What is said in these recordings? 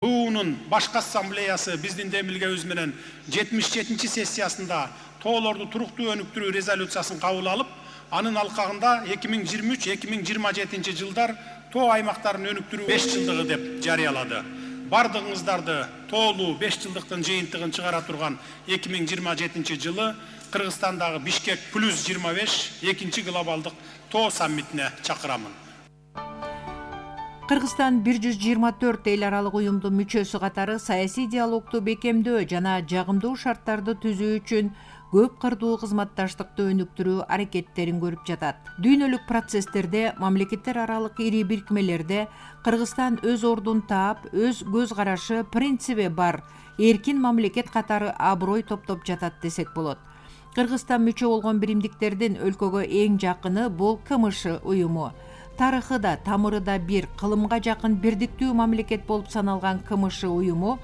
БУ-нун башкы ассамблеясы биздин демилгебиз менен 77-сессиясында тоолорду туруктуу өнүктүрүү резолюциясын кабыл алып, анын алкагында 2023-2027 жылдар тоо аймактарын өнүктүрүү 5 жылдыгы деп жарыялады. Бардыгыңыздарды тоолуу 5 жылдыктын жыйынтыгын чыгара турган 2027 жылы Кыргызстандагы Бишкек плюс 25 экинчи глобалдык тоо саммитине чакырамын. Кыргызстан 124 эл аралык уюмдун мүчөсү катары саясий диалогду бекемдөө жана жагымдуу шарттарды түзүү үчүн көп кырдуу кызматташтыкты өнүктүрүү аракеттерин көрүп жатат. Дүйнөлүк процесстерде, мамлекеттер аралык ири бирикмелерде Кыргызстан өз ордун таап, өз көз карашы, принциби бар эркин мамлекет катары аброй топтоп жатат десек болот. Кыргызстан мүчө болгон биримдиктердин өлкөгө эң жакыны бул КМШ уюму. Тарыхы да, тамыры да бир, кылымга жакын бирдиктүү мамлекет болуп саналган КМШ уюму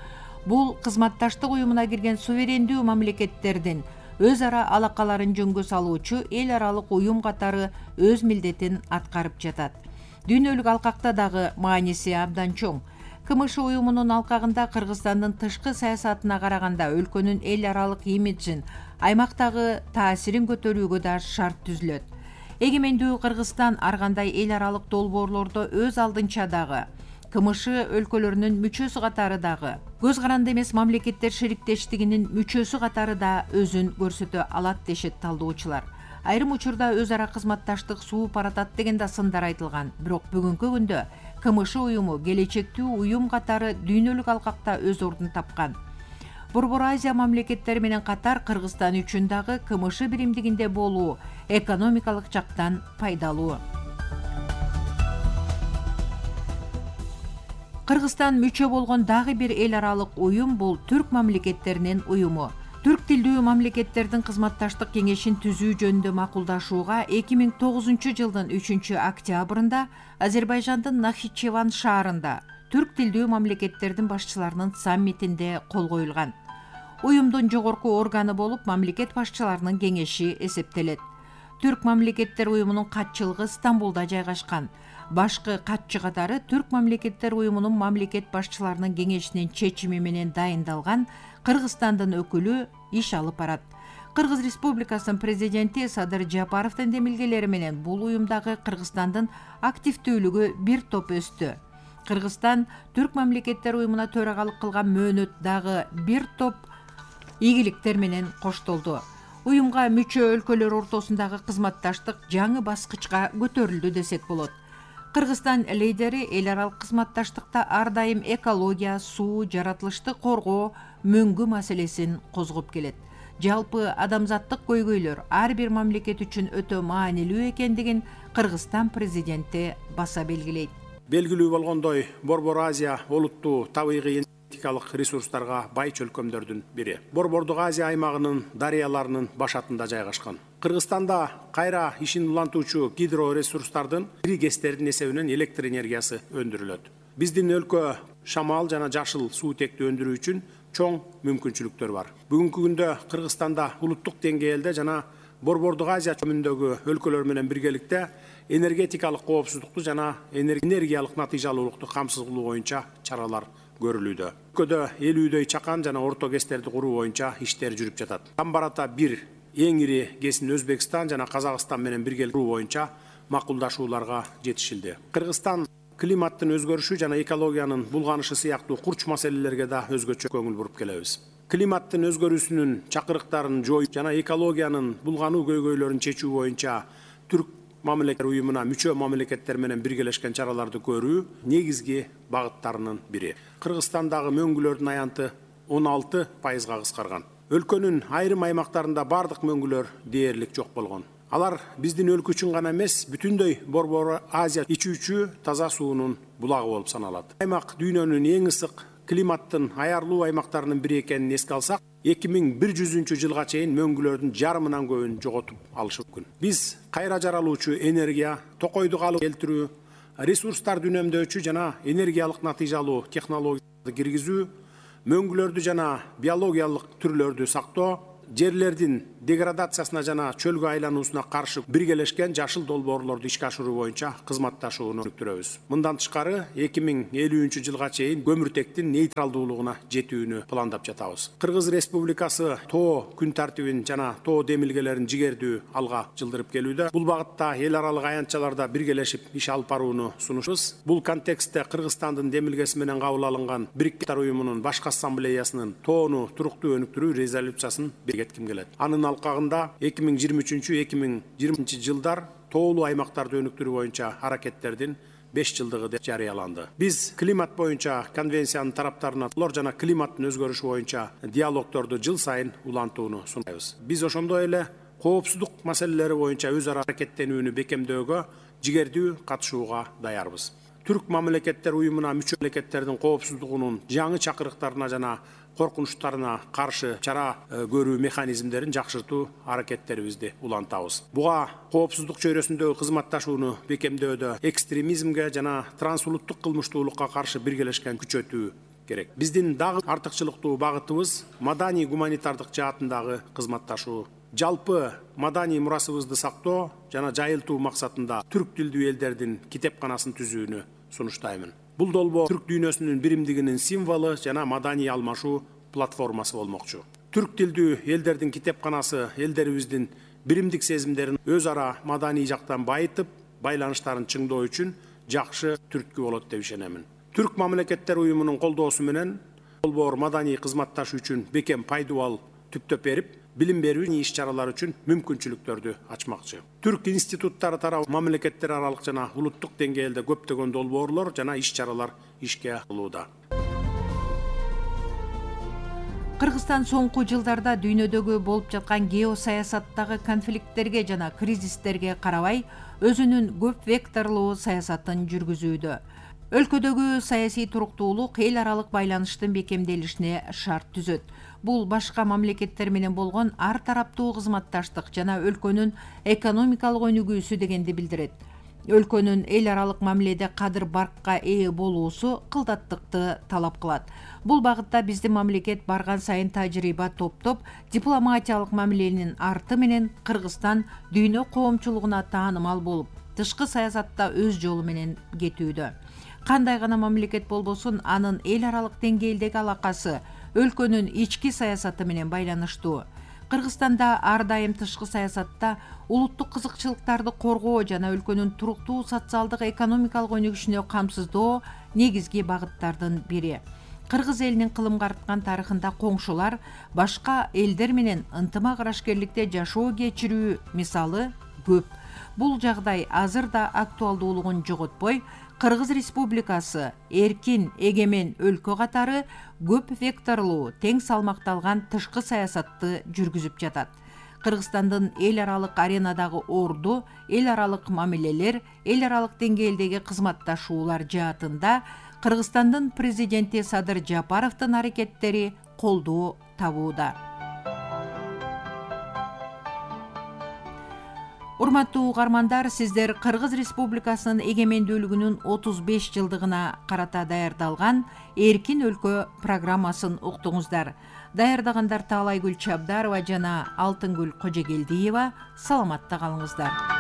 бул кызматташтык уюмуна кирген суверендүү мамлекеттердин өз ара алакаларын жөнгө салуучу эл аралык уюм катары өз милдетин аткарып жатат. Дүйнөлүк алкакта дагы мааниси абдан чоң. КМШ уюмунун алкагында Кыргызстандын тышкы саясатына караганда өлкөнүн эл аралык имиджин, аймактагы таасирин көтөрүүгө да шарт түзүлөт. Эгемендүү Кыргызстан ар кандай эл аралык долбоорлордо өз алдынча дагы, КМШ өлкөлөрүнүн мүчөсү катары дагы, көз каранды эмес мамлекеттер шериктештигинин мүчөсү катары да өзүн көрсөтө алат дешет талдоочулар. Айрым учурда өз ара кызматташтык сууп баратат деген да сындар айтылган. Бирок бүгүнкү күндө КМШ уюму келечектүү уюм катары дүйнөлүк алкакта өз ордун тапкан. Борбор Азия мамлекеттери менен катар Кыргызстан үчүн дагы КМШ биримдигинде болуу экономикалык жактан пайдалуу. Кыргызстан мүчө болгон дагы бир эл аралык уюм бул түрк мамлекеттеринин уюму. Түрк тилдүү мамлекеттердин кызматташтык кеңешин түзүү жөнүндө макулдашууга 2009 жылдын 3 октябрында Азербайжандын Нахичеван шаарында түрк тилдүү мамлекеттердин башчыларынын саммитинде кол коюлган. Уюмдун жогорку органы болуп мамлекет башчыларынын кеңеши эсептелет. Түрк мамлекеттер уюмунун катчылыгы Стамбулда жайгашкан. Башкы катчы катары Түрк мамлекеттер уюмунун мамлекет башчыларынын кеңешинин чечими менен дайындалган Кыргызстандын өкүлү иш алып барат. Кыргыз Республикасынын президенти Садыр Жапаровдун демилгелери менен бул уюмдагы Кыргызстандын активдүүлүгү бир топ өстү. Кыргызстан Түрк мамлекеттер уюмуна төрагалык кылган мөөнөт дагы бир топ ийгиликтер менен коштолду. Уюмга мүчө өлкөлөр ортосундагы кызматташтык жаңы баскычка көтөрүлдү десек болот. Кыргызстан лидери эл аралык кызматташтыкта ар дайым экология, суу, жаратылышты коргоо, мөңгү маселесин козгоп келет. Жалпы адамзаттык көйгөйлөр ар бир мамлекет үчүн өтө маанилүү экендигин Кыргызстан президенти баса белгилейт. Белгилүү болгондой, Борбор Азия олуттуу табигый энергетикалык ресурстарга бай чөлкөмдөрдүн бири. Борбордук Азия аймагынын дарыяларынын башатында жайгашкан. Кыргызстанда кайра ишин улантуучу гидроресурстардын ири кестердин эсебинен электр энергиясы өндүрүлөт. Биздин өлкө шамал жана жашыл суутекти өндүрүү үчүн чоң мүмкүнчүлүктөр бар. Бүгүнкү күндө Кыргызстанда улуттук деңгээлде жана Борбордук Азия чөмүндөгү өлкөлөр менен биргеликте энергетикалык коопсуздукту жана энергиялык натыйжалуулукту камсыз кылуу боюнча чаралар көрүлүүдө. Өлкөдө 50дөй чакан жана орто кестерди куруу боюнча иштер жүрүп жатат. Тамбарата 1 эң ири кесин Өзбекстан жана Казакстан менен биргеликте куруу боюнча макулдашууларга жетишилди. Кыргызстан климаттын өзгөрүшү жана экологиянын булганышы сыяктуу курч маселелерге да өзгөчө көңүл буруп келебиз. Климаттын өзгөрүүсүнүн чакырыктарын жоюу жана экологиянын булгануу көйгөйлөрүн чечүү боюнча Түрк мамлекеттер уюмуна мүчө мамлекеттер менен биргелешкен чараларды көрүү негизги багыттарынын бири. Кыргызстандагы мөңгүлөрдүн аянты 16%га кыскарган. Өлкөнүн айрым аймактарында бардык мөңгүлөр дээрлик жок болгон. Алар биздин өлкө үчүн гана эмес, бүтүндөй Борбор Азия ичүүчү таза суунун булагы болуп саналат. Аймак дүйнөнүн эң ысык климаттын аярлуу аймактарынын бири экенин эске алсак, 2100 жылга чейин мөңгүлөрдүн жарымынан көбүн жоготуп алышы мүмкүн. Биз кайра жаралуучу энергия, токойду калып келтирүү, ресурстарды үнөмдөөчү жана энергиялык натыйжалуу технологияларды киргизүү, мөңгүлөрдү жана биологиялык түрлөрдү сактоо, жерлердин деградациясына жана чөлгө айлануусуна каршы биргелешкен жашыл долбоорлорду ишке ашыруу боюнча кызматташууну өнүктүрөбүз. Мындан тышкары 2050 жылга чейин көмүртектин нейтралдуулугуна жетүүнү пландап жатабыз. Кыргыз Республикасы тоо күн тартибин жана тоо демилгелерин жигердүү алга жылдырып келүүдө. Бул багытта эл аралык аянтчаларда биргелешип иш алып барууну сунушубуз. Бул контекстте Кыргызстандын демилгеси менен кабыл алынган Бириккен Уттар уюмунун башкы ассамблеясынын тоону туруктуу өнүктүрүү резолюциясын бекитким келет. Анын алкагында 2023-2020 жылдар тоолуу аймактарды өнүктүрүү боюнча аракеттердин 5 жылдыгы деп жарыяланды. Биз климат боюнча конвенциянын тараптарына жана климаттын өзгөрүшү боюнча диалогторду жыл сайын улантууну сунайбыз. Биз ошондой эле коопсуздук маселелери боюнча өз ара аракеттенүүнү бекемдөөгө жигердүү катышууга даярбыз. Түрк мамлекеттер уюмуна мүчө мамлекеттердин коопсуздугунун жаңы чакырыктарына жана коркунучтарына каршы чара көрүү механизмдерин жакшыртуу аракеттерибизди улантабыз. Буга коопсуздук чөйрөсүндөгү кызматташууну бекемдөөдө экстремизмге жана трансулуттук кылмыштуулукка каршы биргелешкен күчөтүү керек. Биздин дагы артыкчылыктуу багытыбыз маданий гуманитардык жаатындагы кызматташуу. Жалпы маданий мурасыбызды сактоо жана жайылтуу максатында түрк тилдүү элдердин китепканасын түзүүнү сунуштаймын. Бул долбоо түрк дүйнөсүнүн биримдигинин символу жана маданий алмашуу платформасы болмокчу. Түрк тилдүү элдердин китепканасы элдерибиздин биримдик сезимдерин өз ара маданий жактан байытып, байланыштарын чыңдоо үчүн жакшы түрткү болот деп ишенемин. Түрк мамлекеттер уюмунун колдоосу менен долбоор маданий кызматташуу үчүн бекем пайдубал түптөп берип, билим берүү иш-чаралар үчүн мүмкүнчүлүктөрдү ачмакчы. Түрк институттары тарабы мамлекеттер аралык жана улуттук деңгээлде көптөгөн долбоорлор жана иш-чаралар ишке алынууда. Кыргызстан соңку жылдарда дүйнөдөгү болуп жаткан геосаясаттагы конфликттерге жана кризистерге карабай, өзүнүн көп векторлуу саясатын жүргүзүүдө. Өлкөдөгү саясий туруктуулук эл аралык байланыштын бекемделишине шарт түзөт. Бул башка мамлекеттер менен болгон ар тараптуу кызматташтык жана өлкөнүн экономикалык өнүгүүсү дегенди билдирет. Өлкөнүн эл аралык мамиледе кадыр баркка ээ болуусу кылдаттыкты талап кылат. Бул багытта биздин мамлекет барган сайын тажрыйба топтоп, дипломатиялык мамиленин арты менен Кыргызстан дүйнө коомчулугуна таанымал болуп, тышкы саясатта өз жолу менен кетүүдө. Кандай гана мамлекет болбосун, анын эл аралык деңгээлдеги алакасы өлкөнүн ички саясаты менен байланыштуу. Кыргызстанда ар дайым тышкы саясатта улуттук кызыкчылыктарды коргоо жана өлкөнүн туруктуу социалдык экономикалык өнүгүшүнө камсыздоо негизги багыттардын бири. Кыргыз элинин кылымга арткан тарыхында коңшулар башка элдер менен ынтымак арашкерликте жашоо кечирүү мисалы көп. Бул жагдай азыр да актуалдуулугун жоготпой, Кыргыз Республикасы эркин, эгемен өлкө катары көп векторлуу, тең салмакталган тышкы саясатты жүргүзүп жатат. Кыргызстандын эл аралык аренадагы орду, эл аралык мамилелер, эл аралык деңгээлдеги кызматташуулар жаатында Кыргызстандын президенти Садыр Жапаровдун аракеттери колдоо табууда. Урматтуу угармандар, сиздер Кыргыз Республикасынын эгемендүүлүгүнүн 35 жылдыгына карата даярдалган Эркин өлкө программасын уктуңуздар. Даярдагандар Таалайгүл Чабдарова жана Алтынгүл Кожегелдиева. Саламатта калыңыздар.